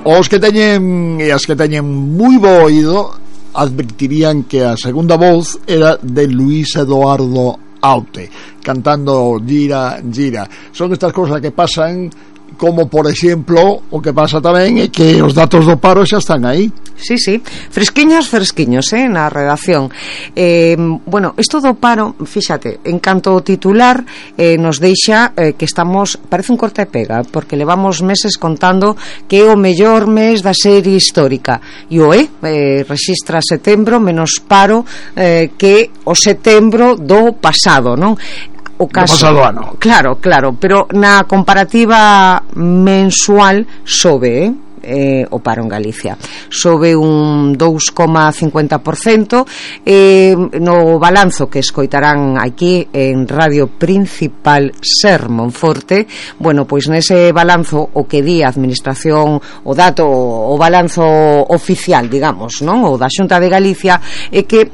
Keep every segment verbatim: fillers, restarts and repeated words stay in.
Os que teñen e as que teñen moi bo oído advertirían que a segunda voz era de Luis Eduardo Aute, cantando Gira, Gira. Son estas cousas que pasan, como por exemplo o que pasa tamén é que os datos do paro xa están aí. Sí, sí, fresquiños, fresquiños, eh, na redacción. Eh, bueno, isto do paro, fíxate, en canto ao titular eh, nos deixa eh, que estamos, parece un corta e pega, porque levamos meses contando que é o mellor mes da serie histórica, e o é, eh, rexistra setembro menos paro eh, que o setembro do pasado, non? O caso, do pasado ano. Claro, claro, pero na comparativa mensual sobe, eh? Eh, o paro en Galicia sobe un dous coma cincuenta por cento. eh, no balanzo que escoitarán aquí en Radio Principal Ser Monforte, bueno, pois nese balanzo o que di a administración, o dato, o balanzo oficial, digamos, non? O da Xunta de Galicia, é que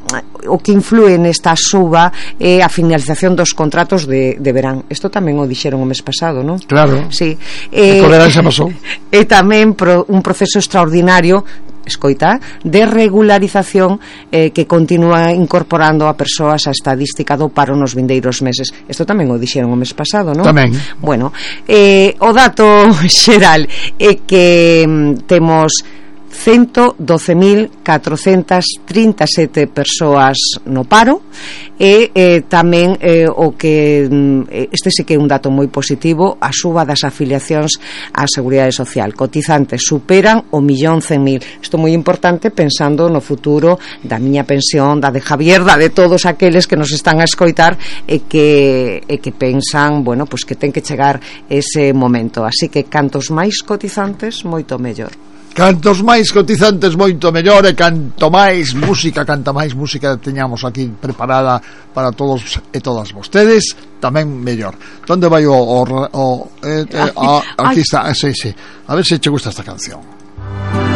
o que influe nesta suba é a finalización dos contratos de, de verán. Isto tamén o dixeron o mes pasado, non? Claro, sí. eh, o verán xa pasou. E tamén pro un proceso extraordinario, escoita, de regularización eh, que continúa incorporando a persoas a estadística do paro nos vindeiros meses. Isto tamén o dixeron o mes pasado, non? Tamén. Bueno, eh, o dato xeral é que mm, temos ciento doce mil catrocentas trinta e sete persoas no paro e eh, tamén eh, o que este sí que é un dato moi positivo, a suba das afiliacións á Seguridade Social. Cotizantes superan o millón cen mil. Isto é moi importante pensando no futuro da miña pensión, da de Javier, da de todos aqueles que nos están a escoitar e que, e que pensan, bueno, pues que ten que chegar ese momento. Así que cantos máis cotizantes, moito mellor. Cantos máis cotizantes, moito mellor, e canto máis música, canta máis música teñamos aquí preparada para todos e todas vostedes, tamén mellor. Donde vai o... o, o eh, eh, a, aquí está, sí, sí. A ver se che gusta esta canción.